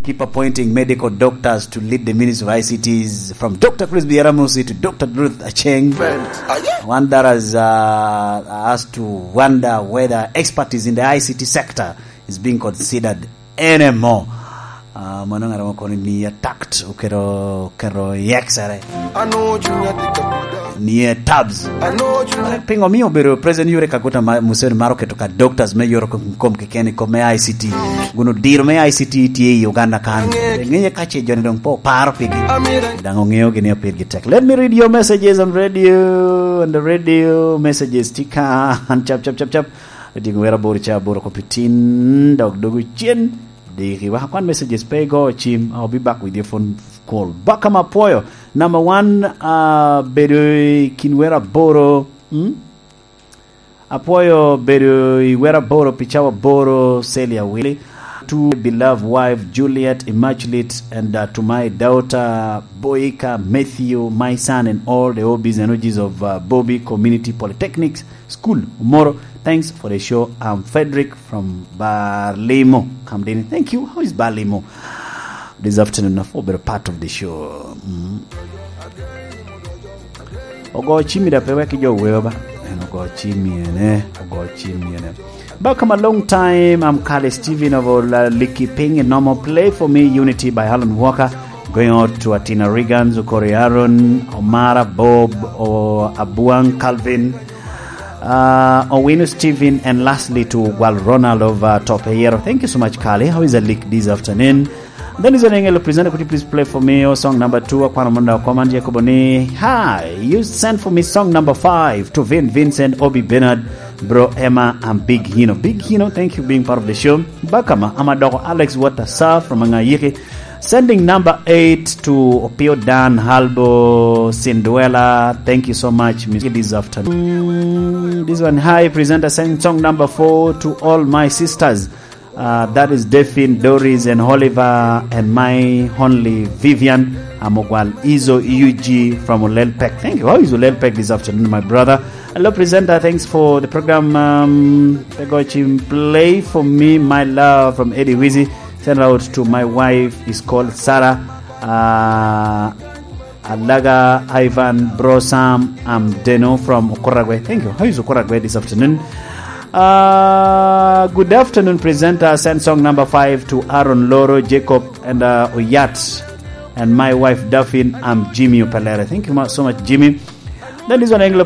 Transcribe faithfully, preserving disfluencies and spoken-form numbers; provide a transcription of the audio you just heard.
Keep appointing medical doctors to lead the Ministry of I C Ts, from Doctor Chris Biaramusi to Doctor Ruth Acheng. One that has, uh, has to wonder whether expertise in the I C T sector is being considered anymore. Uh, mano ŋat mo kono ni attacked, oketo, oketo i X-ere. Ni e tabs. Pingo mio obedo President Yoweri Kaguta Ma-, Museveni maro keto ka doctors me yoro kom, kom keken i kom me I C T. Guno diro me I C T tye i Uganda kan. Ngeye ka ce joni dong po paro pigi. Dang ongeo gini apir gi tek. Let me read your messages on radio, on the radio messages. Tika, an chap, chap, chap, chap. Odiŋo wera boro ca boro kopi tin, dok dogo cen. Diki, wek akwan messages pe igo cim, I'll be back with your phone call. Baka ma apwoyo. Number one, uh, bedo i kin wera boro. Hmm? Apwoyo bedo i wera boro pi cawa boro, Celia Willy. To beloved wife, Juliet Immaculate, and, uh, to my daughter, Boyika Matthew, my son, and all the O Bs and O Gs of, uh, Bobi Community Polytechnics School, Omoro. Thanks for the show. I'm Frederick from Barlimo. Kamdini. Thank you. How is Barlimo? This afternoon, I've been a part of the show. Mm. Ogo cimi da pe wek jo wewa ba. En ogo cimi ene, ogo cimi ene. Welcome a long time. I'm Kale Steven of Ola Liki Ping in normal play for me, Unity by Alan Walker. Going out to Atina Regan, Zukori Aaron, Omara Bob, o Abuang Calvin, uh, Owino Steven, and lastly to Gwal Ronald of, uh, Top Hero. Thank you so much, Kale. How is a leak this afternoon? Then is an angel presenter. Could you please play for me your song number two? Akwano Munda Command Jacob ni, "Hi, you send for me song number five to Vin Vincent, Obi Bernard, Bro Emma, and Big Hino." Big Hino, thank you being part of the show. Bakama, Amadoko Alex Watasa from Angayiki. Sending number eight to Opio Dan Halbo Sinduela. Thank you so much, Miss, this afternoon. Mm, this one, hi, presenter, send song number four to all my sisters. Uh, that is Delphine, Doris, and Oliver, and my only Vivian. I'm Ogwal Izo U G from Olelpek. Thank you. How is Olelpek this afternoon, my brother? Hello, presenter. Thanks for the program. Um, Pegochim, play for me, my love, from Eddie Wizzy. Send out to my wife. Is called Sarah. Uh, Alaga Ivan, Bro Sam, I'm Deno from Okuragwe. Thank you. How is Okuragwe this afternoon? Uh, good afternoon, presenter. Send song number five to Aaron Loro, Jacob, and, uh, Oyat, and my wife Daphne. I'm Jimmy Opelere. Thank you mu-, so much, Jimmy. Then this one, Anglo